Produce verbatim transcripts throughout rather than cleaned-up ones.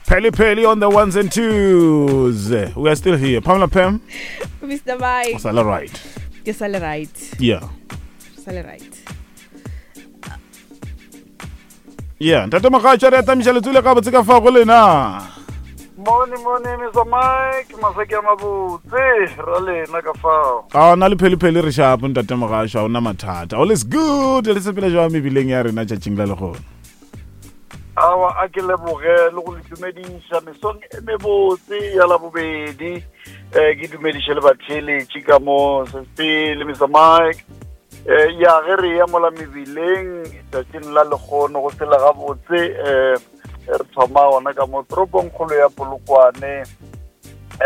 Pelly Pelly on the ones and twos. We are still here. Pamela Pam, Mister Mike. It's all right. Ke sa le right. Yeah. Sa le right. Yeah, Ntate Mogatša, re atamiša letswele gabotse ka fa go lena. Mone mone Mister Mike, maseke a mabotse, ra lena ka fao. A na le Pelly Pelly re shapo Ntate Mogatša, ona mathata. All is good. Le sepela jwang mebileng ya rena tšatšing la lehono? Awa a ke leboge le go le dumediša mesong e mebotse ya labobedi. Eh ke dumediše le batheeletši ka mo sesepele Mister Mike. Eh ya ge re ya mola mebileng tšatšing la lehono go sela gabotse, eh re thoma gona ka mo toropong kgolo ya Polokwane.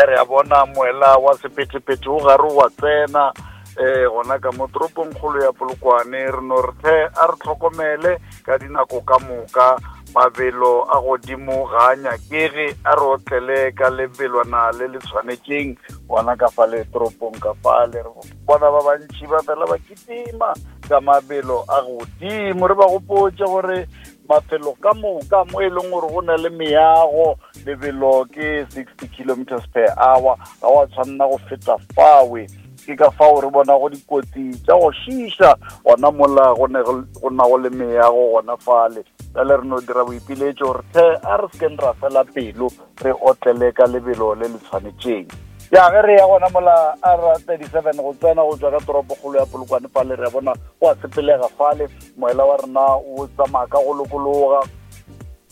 Re a bona moela wa sephethephethe o gare wa tsena eh gona ka mo toropong kgolo ya Polokwane. Re no re tlhe a re tlhokomele ka dinako ka moka, mabelo a godimo ga a nyakege, a re otlele ka lebelwana le le tshwanetšeng gona ka fale toropong ka fale. Re bona ba bantši ba fela ba kitima ka mabelo a godimo. Re ba gopotše gore mafelo ka moka mo e leng gore go na le meago, lebelo ke sixty kilometers per hour, ga wa tshwanela go feta fawe. Ke ka fao re bona go dikotsi tša go šiša gona mola go ne go na go le meago gona fale. Bjale re no dira boipiletšo gore tlhe a re sekeng ra fela pelo, re otlele ka lebelo le le tshwanetšeng. Ya ge re ya gona mola R thirty-seven go tsena go tšwa ka toropokgolo ya Polokwane fale, re a bona go a sepelega fale, moela wa rena o tsamaya ka go lokologa.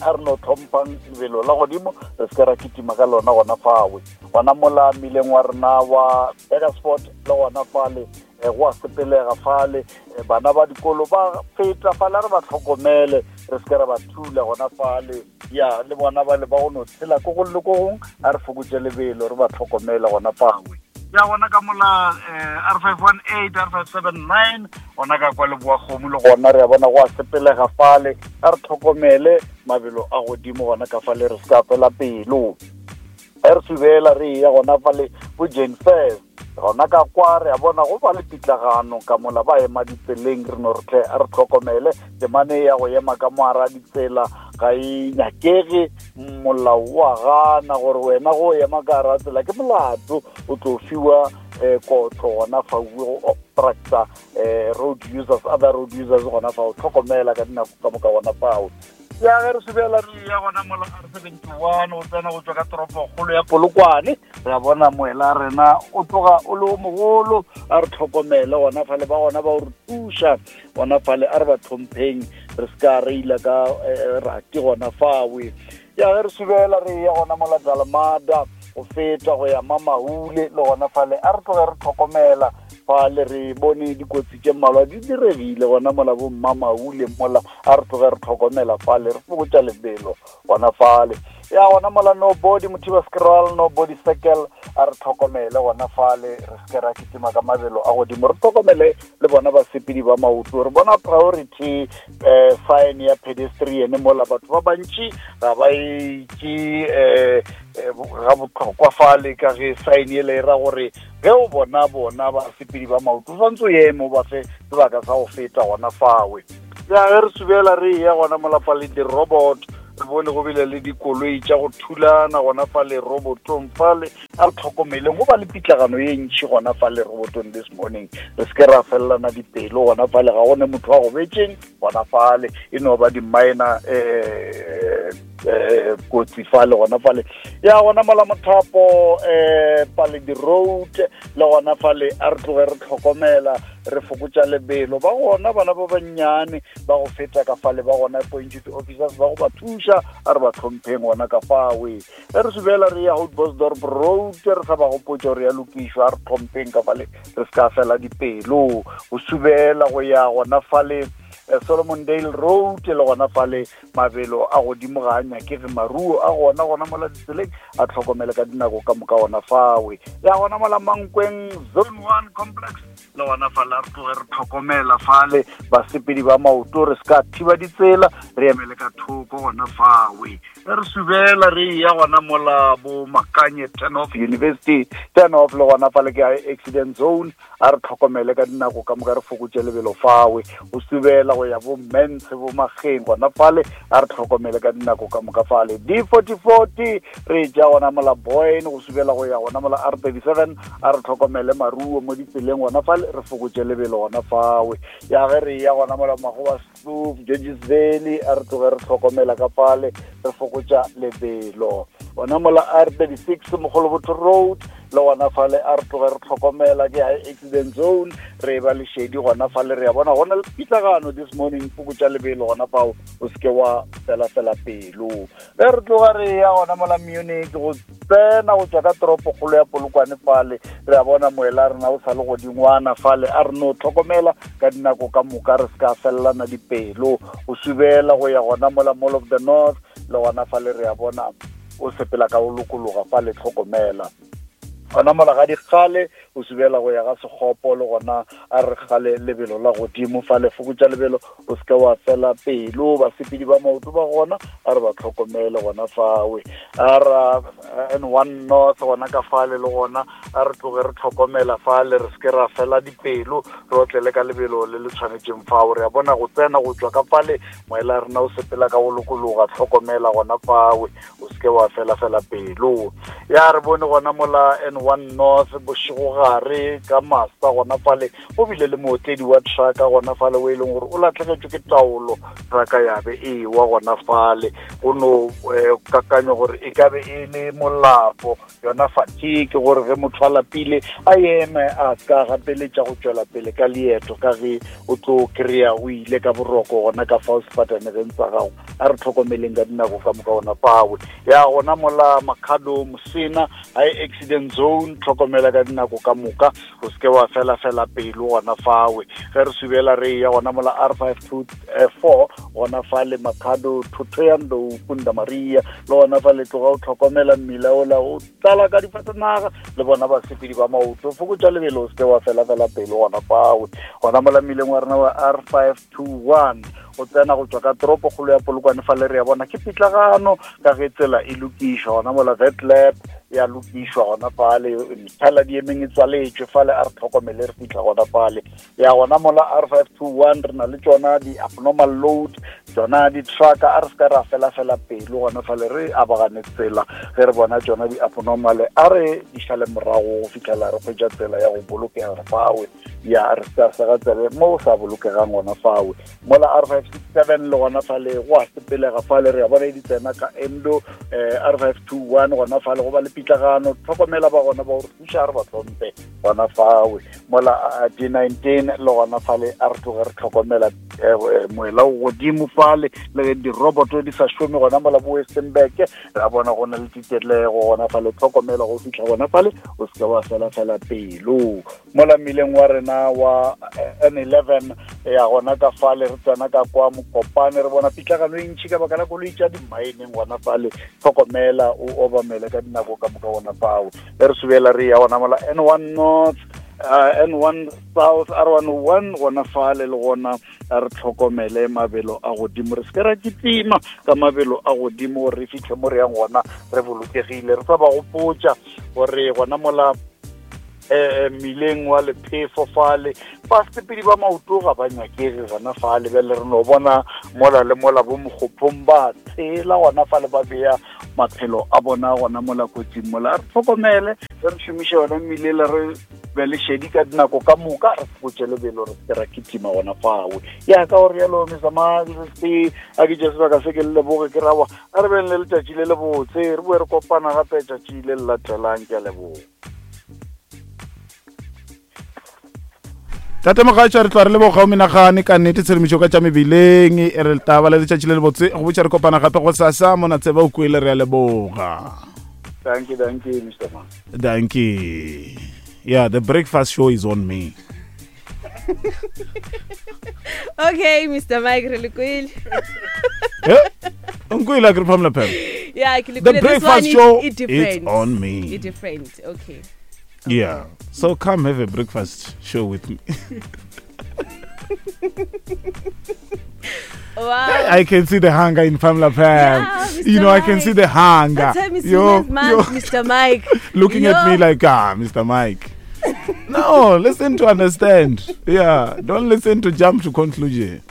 A re no tlhomphang lebelo la godimo, re se ke ra kitima ka lona gona fawe. Gona mola mmileng wa rena wa Burgersfort le gona fale, go a sepelega fale, bana ba dikolo ba feta fale, a re ba tlhokomele, re se ke ra ba thula gona fale. Ya le bona ba le ba go no tshela ko go le ko gong, a re fokotše lebelo, re ba tlhokomele gona fawe. Ya gona ka mola R five one eight, R five seven nine, gona ka kwa Leboa-Kgomo le gona re a bona go a sepelega fale, a re tlhokomele mabelo a godimo gona ka fale, re se ka fela pelo. Re subela re ya gona fale bo Jane Fairs, gona ka kwa re a bona go ba le pitlagano ka mola ba ema ditseleng. Re no re tle a re tlhokomele temane ya go ema ka moara ditsela ga e nyakege, molao wa gana gore wena go ema ka hara tsela ke molato, o tlo fiwa kotlo gona fa go obstructa road users, other road users gona fa o tlhokomela ka dinako ka moka gona fao. Ya ge re subela re ya gona mola R seventy-one go tsena go tšwa ka toropokgolo ya Polokwane, re a bona moela rena o tloga o le o mogolo, a re tlhokomele gona fale, ba gona ba o re thuša gona fale, a re ba tlhompheng, re se ka reila ka rati gona fawe. Ya ge re subela re ya gona mola Dalmada go feta go ya Mamahule le gona fale, a re tloge re tlhokomela fale, re bone dikotsi tše mmalwa di diregile gona mola bo Mamahule mola, a re tloge re tlhokomela fale, re fokotša lebelo gona fale. Ya gona mola no body Mothiba Scroll, no body circle, a re tlhokomele gona fale, re se ke ra kitima ka mabelo a godimo, re tlhokomele le bona basepedi ba maoto. Re bona priority eh sign ya pedestrian mola, batho ba bantši ga ba itše eh ga botlhokwa fale, ka ge sign ele e ra gore ge o bona bona basepedi ba maoto o tshwanetse o eme o ba fe sebaka sa go feta gona fawe. Ya ge re subela re ya gona mola fale di-robot, re bone go bile le dikoloi tša go thulana gona fale robotong fale, a re tlhokomeleng go ba le pitlagano ye ntši gona fale robotong this morning, re se ke ra felelana dipelo gona fale, ga gone motho wa go betšeng gona fale, e no ba di-minor eh eh kotsi fale gona fale. Ya gona mola Mothapo eh Paledi Road le gona fale, a re tloge re tlhokomela, re fokotša lebelo. Ba gona bana ba bannyane ba go feta ka fale, ba gona appointed officers ba go ba thuša, a re ba tlhompheng gona ka fawe. Ge re subela re ya Houtbosdorp Road, re sa ba gopotša gore ya lokišwa, a re tlhompheng ka fale, re se ka fela dipelo. Go subela go ya gona fale Solomon Dale Road le gona fale, mabelo a godimo ga a nyakege, maruo a gona gona mola ditseleng a tlhokomele ka dinako ka moka gona fawe. Ya gona mola Mankweng Zone one Complex le gona fale, a re tloge re tlhokomela fale basepedi ba maoto, re se ka thiba ditsela, re emele ka thoko gona fawe. Ge re subela re ya gona mola bo Makanye turn off University turn off le gona fale ke accident zone, a re tlhokomele ka dinako ka moka, re fokotše lebelo fawe. Go subela go ya bo Mense bo Mageng gona fale a re tlhokomele ka dinako ka moka fale. D forty forty re ja gona mola Boyne go subela go ya gona mola R thirty-seven a re tlhokomele maruo mo ditseleng gona fale re fokotše lebelo gona fawe. Ya ge re ya gona mola Magoba Kloof, Georges Valley a re tloge re tlhokomela ka fale re fokotša lebelo. Gona mola R thirty-six Mogolobotho Road le gona fale a re tloge re tlhokomela ke high accident zone re ba lešedi gona fale re ya bona gona le pitlagano this morning fokotša lebelo gona fao o seke wa felafela pelo. Ge re tloga re ya gona mola Munich go tsena go tswa ka toropokgolo ya Polokwane fale re a bona moela rena o sa le godingwana fale a re no tlhokomela ka dinako ka moka re se ka fellana dipelo. O subela go ya gona mola Mall of the North le gona fale re a bona o sepela ka o lokologa fale tlhokomela. Gona mola ga dikgale o subela go ya ga Sekgopo le gona a re kgale lebelo la godimo fale fokotša lebelo o seke wa fela pelo. Basepedi ba maoto ba gona a re ba tlhokomele gona fawe. A ra N one North gona ka fale le gona a re tloge re tlhokomela fale re seke ra fela dipelo re otlele ka lebelo le le tshwanetseng fao. Re a bona go tsena go tswa ka fale moela rena o sepela ka go lokologa tlhokomela gona fawe o seke wa fela fela pelo. Ya re bone gona mola N one North bošegogare ka masa gona fale go bile le mootledi wa trucka gona fale o e leng gore o latlhegetšwe ke taolo trucka ya be e wa gona fale go no kakanyo gore e ka be e le molapo yona fatigue gore ge motho a lapile a eme a ska gapeletša go tšwela pele ka leeto ka ge o tlo kry-a o ile ka boroko gona ka fao sefatanegeng sa gago. A re tlhokomeleng ka dinako ka moka gona fawe. Ya gona mola Makhado Mosena high accident zone tlhokomela ka dinako ka moka o seke wa fela fela pelo gona fawe. Ge re subela re ya gona mola R five two four gona fale Makhado Thohoyandou Punda Maria le gona fale tloga o tlhokomela mmila ola o tlala ka difatanaga le bona basepedi ba maoto fokotša lebelo o seke wa fela fela pelo gona fawe. Gona mola mmileng wa rena wa R five two one o tsena go tswa ka toropokgolo ya Polokwane fale re ya bona ke pitlagano ka ge tsela e lokišwa gona mola Vetlab ya lokišwa gona fale methala di emeng e tswaletšwe fale a re tlhokomele re fitlha gona fale. Ya gona mola R five two one re na le tšona di-abnormal load tšona di-trucka a re se ka ra fela fela pelo gona fale re abagane tsela ge re bona tšona di-abnormal a re di šale morago go fitlhela re hwetša tsela ya go bolokega fawe. Ya re sa sega tsebe mo o sa bolokegang gona fawe. Mola R five six seven le gona fale go a sepelega fale re a bona di tsena ka Endo R five two one gona fale go ba le pitlagano tlhokomela ba gona ba gore thuša re ba tlhompe gona fawe. Mola D nineteen le gona fale a re tloge re tlhokomela moela o godimo fale le ge diroboto di sa šome gona mola bo Westenburg re a bona go na le titelego gona fale tlhokomela go fitlha gona fale o seke wa fela fela pelo. Mola mmileng wa rena wa N eleven ya gona ka fale re tsena ka kwa Mokopane re bona pitlagano e ntšhi ka baka la koloi tša di-mineng gona fale tlhokomela o obamele ka dinako ka moka gona fao. Ge re subela re ya gona mola N one North uh, N one South R one oh one gona fale le gona a re tlhokomele mabelo a godimo re seke ra kitima ka mabelo a godimo gore re fitlhe mo re yang gona re bolokegile. Re sa ba gopotša gore gona mola eh mmileng wa lephefo fale basepedi ba maoto ga ba nyakege gona fale bjale re no bona mola le mola bo Mokgophong ba tshela gona fale ba beya maphelo a bona gona mola kotsing mola. Re tlhokomele re šomiše yona mmile le re be le šedi ka dinako ka moka re fokotše lebelo re seke ra kitima gona fawe. Ya ka gore yalo Mister a ke tše sebaka se ke le leboge ke rawa a re beng le letšatši le le botse re boe re kopana gape tšatši le le latelang. Ke a leboga. Tate Mogatša re tla re leboga o menagane ka nnete tshedimošo ka tša mebileng e re taba le letšatši le le botse go botša re kopana gape go sasa mona tseba o kwele re a leboga. Thank you, thank you, Mister Man. Thank you. Yeah, the breakfast show is on me. Okay, Mister Mike, re le kwele. Eh? Nkwele a ke re Pamela Pam. Yeah, ke le The kwele. This breakfast one show is different. it's on me. It's different. Okay. Yeah. So come have a breakfast show with me. Wow. I can see the hunger in Pamela Pam. Yeah, Mister You know, I can Mike. see the hunger. That time is Yo, man, yo. Mister Mike. Looking Yo. at me like, ah, Mister Mike. No, listen to understand. Yeah, don't listen to jump to conclusion.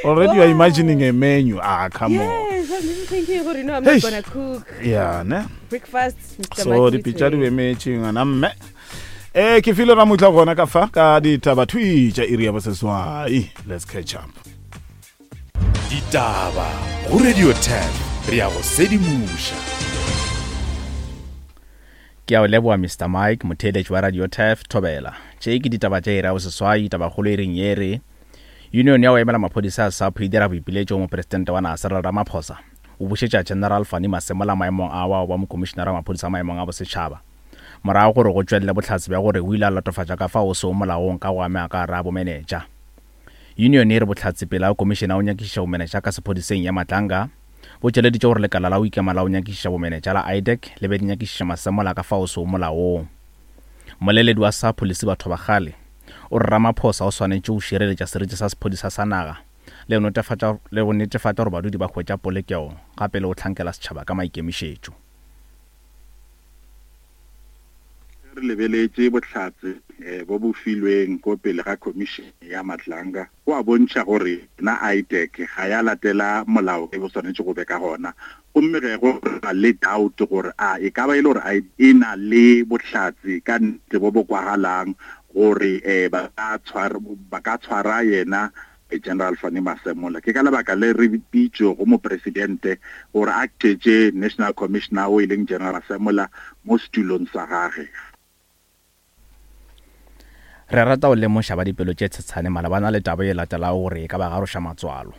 Already you are imagining a menu. Ah, come on. Yes, I'm even thinking gore no, I'm Eish. not gonna cook Yeah, ne? breakfast. Mister So Mike dipitša di Whitway. emetše ngwana mme. Eh, ke file ramutla gona ka fa ka ditaba thwi tša iri ya boseswai. Let's catch up. Ditaba go Radio ten, re ya go sedimoša. Ke a o leboa Mister Mike, motheeletši wa Radio Turf Thobela. Tše ke ditaba tša iri ya boseswai, tabakgolo e reng ye re Union ya go emela maphodisa a SAPO e dira boipiletšo go mopresidente wa naga Cyril Ramaphosa o bušetša General Fannie Masemola maemong a wa wa mokomišenara wa maphodisa a maemong a bosetšhaba morago gore go tšwelele bohlatse bja gore o ile a latofatša ka fao o sego molaong ka go amega ka gare a bomenetša. Union e re bohlatse pele a komišene ya go nyakišiša bomenetša ka sephodiseng ya Matlanga bo tšweleditše gore lekala la go ikema la go nyakišiša bomenetša la I D E C le be di nyakišiša Masemola ka fao sego molaong. Moleledi wa SAPO Lesiba Thobakgale o re Ramaphosa o swanetše go šireletša seriti sa sephodisa sa naga le go netefatša, le go netefatša gore badudi ba hwetša polokego gape le go hlankela setšhaba ka maikemišetšo. Re lebeletše bohlatse, eh, bo bo filweng ko pele ga commission ya Matlanga, go a bontšha gore na I D E C ga ya latela molao e bo swanetše go be ka gona. Gomme ge go na le doubt gore a e ka ba e le gore a e na le bohlatse ka nnete bo bo kwagalang gore, eh, ba ka tshwara, ba ka tshwara yena General Fannie Masemola. Ke ka lebaka le re bitšo go mopresidente gore a tšetše National Commissioner o e leng General Masemola mo setulong sa gagwe. Re rata go lemoša ba dipelo tše tshetshane malebana le taba e latelago gore e ka ba garoša matswalo.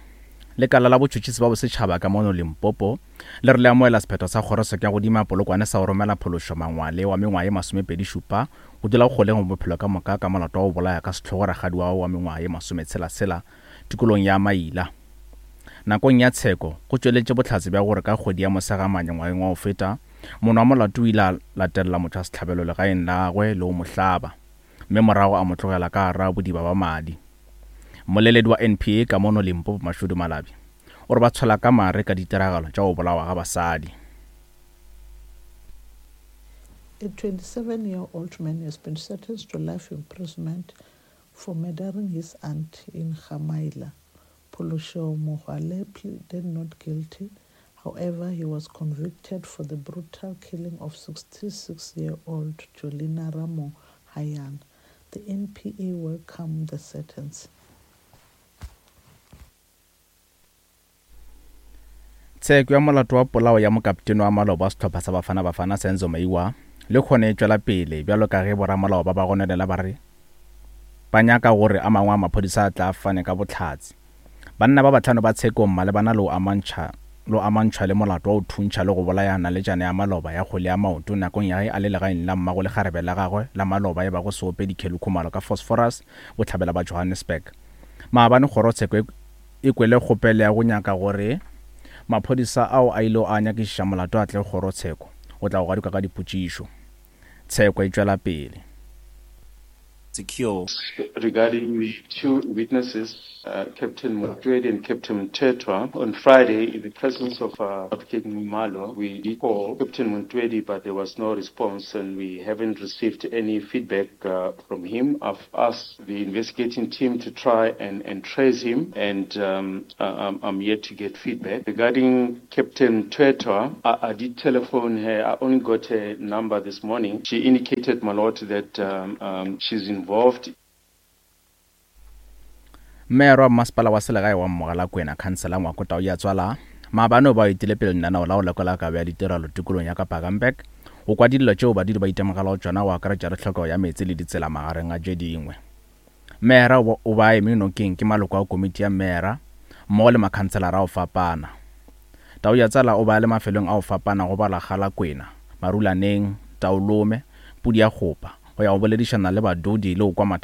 Lekala la botšhotšhisi ba bosetšhaba ka mono Limpopo le re le amohela sephetho sa kgorotsheko ya godimo ya Polokwane sa go romela phološo Mangwale wa mengwaga ye masomepedi šupa go dula kgoleng go bophelo ka moka ka molato wa go bolaya ka sehlogo rakgadi wa wa mengwaga ye masometshela-tshela tikolong ya Maila. Nakong ya tsheko go tšweletše bohlatse bja gore ka kgwedi ya Mosegamanye ngwageng wa go feta mono wa molato o ile a latelela motho wa sehlabelo legaeng la gagwe le go mo hlaba, mme morago a mo tlogela ka gare bodiba ba madi. Moleledi wa N P A ka mono Limpopo Mashudu Malabi o re ba tshwela ka mare ka ditiragalo tša go bolawa ga basadi. A twenty-seven-year-old man has been sentenced to life imprisonment for murdering his aunt in Gamaila. Pholosho Mogale pleaded not guilty. However, he was convicted for the brutal killing of sixty-six-year-old Jolina Ramo Hayan. The N P A welcomed the sentence. Tsheko ya molato wa polao ya mokaptene wa maloba wa sehlopha sa Bafana Bafana Senzo Meyiwa le kgone e tšwela pele bjalo ka ge boramolao ba ba gononela ba re ba nyaka gore a mangwe a maphodisa a tla fane ka bohlatse. Banna ba bahlano ba tshekong malebana le go amantšha lo amantšhwa le molato wa go thuntšha le go bolaya naletšana ya maloba ya kgwele ya maoto nakong ya ge a le legaeng la mmago le kgarebe la gagwe la maloba e bago seopedi Kelly Khumalo ka Phosphorus bohlabela ba Johannesburg. Maabane kgorotsheko e kwele kgopelo ya go nyaka gore maphodisa ao a ile a nyakišiša molato a tle kgorotsheko go tla go gadikwa ka dipotšišo. Tsheko e tšwela pele. Secure. Regarding the two witnesses, uh, Captain Montwedi and Captain Mthethwa, on Friday, in the presence of, uh, Advocate Nxumalo, we did call Captain Montwedi, but there was no response and we haven't received any feedback, uh, from him. I've asked the investigating team to try and, and trace him, and, um, uh, I'm, I'm yet to get feedback. Regarding Captain Mthethwa, I, I did telephone her. I only got her number this morning. She indicated, my lord, that, um, um, she's involved. Mayor wa masepala wa selegae wa Mogalakwena, Councillor Ngwako Tauyatswala, maabane o ba etile pele lenaneo la go lekola kabo ya ditirelo tikolong ya Kapa Gamberg go kwa dillo tšeo badudi ba itemogelago tšona go akaretša le tlhokego ya meetse le ditsela magareng a tše dingwe. Mayor o ba eme nokeng ke maloko a komiti ya mayor mmogo le makhanselara a go fapana. Tauyatswala o ba le mafelong a go fapana go bala Galakwena, Marulaneng, Taolome, Pudi ya Kgopa go ya go boledišana le badudi le go kwa mathata